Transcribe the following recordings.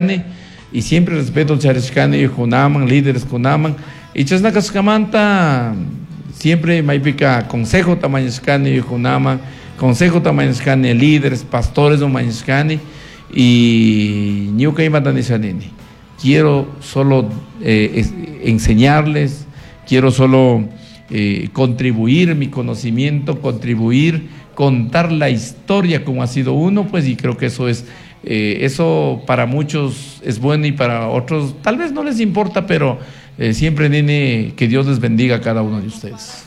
Y siempre respeto charishkani kunaman, líderes kunaman. Y chashna kashkamanta siempre maypika consejo mañashkani kunaman, consejo mañashkani líderes, pastores mañashkani. Y ñuka imata nishanini. Quiero solo enseñarles, quiero solo contribuir mi conocimiento, contribuir, contar la historia como ha sido uno, pues, y creo que eso para muchos es bueno y para otros tal vez no les importa, pero siempre, nene, que Dios les bendiga a cada uno de ustedes.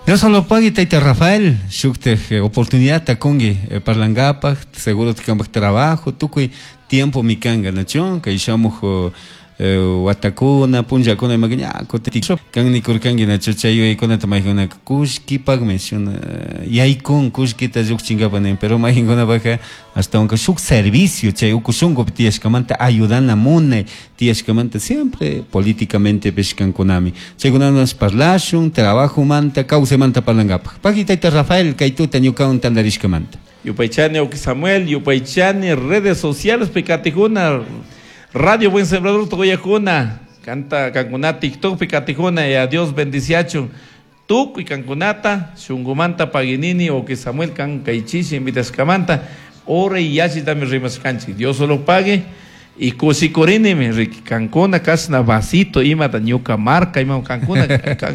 Dios lo pague, Taita Rafael, shukte oportunidad takungi parlangapaj, seguro tikambaj trabajo, tukuy tiempo mikanga, nacho, kay shamuj watakuna, punllakuna imakiña kan nikurkanki, nacho, chay yuyaykunata mayqinkunaka kullkipakmi shuna yaykun kullkita llukchinkapa nin, pero mayqinkunapaka ashtawanka shuk servicio chay uku shunkupi tiyashkamanta ayudana munay tiyashkamanta siempre políticamente pishkankunami chaykunawan parlashun trabajomanta kawsaymanta parlankapaj. Paqui, tayta Rafael, kay tuta ñukawan tantarishkamanta. Yupaychani, Oki Samuel, yupaychani redes sociales pikatikuna, Radio Buen Sembrador toyakuna, canta kankuna TikTok pikatikuna, y a Dios bendiciachun. Tukuy kankunata, shungumanta paginini, Oki Samuel kan kaychishi invitashkamanta, ora y yachi también rimashkanchik. Dios solo pague. Y kusikurinimi, Ricky, kankuna kasna vasito, imata ñuka marca, ima kankuna,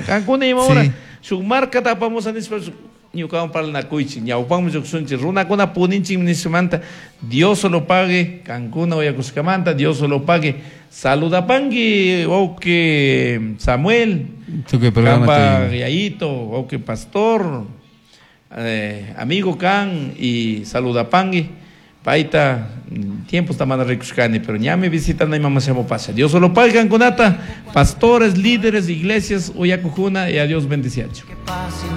kankuna ima ora, shuk marca tapamos anispa, ñukawan parlanakuychik, ñawpanmi lluqshunchik, runakuna puninchik nishmanta, Dios solo pague, kankuna uyakushkamanta, Dios solo pague. Saludapangi, wawqi Samuel, Tukuy programa Kamba te- Yayito, wawqi pastor, amigo kan, y saludapangi, paita, tiempo está mana rikushkani, pero ñami visitando y mamá se llama pasa. Dios solo pague kankunata, pastores, líderes, iglesias, uyakujuna, y a Dios bendiciacho.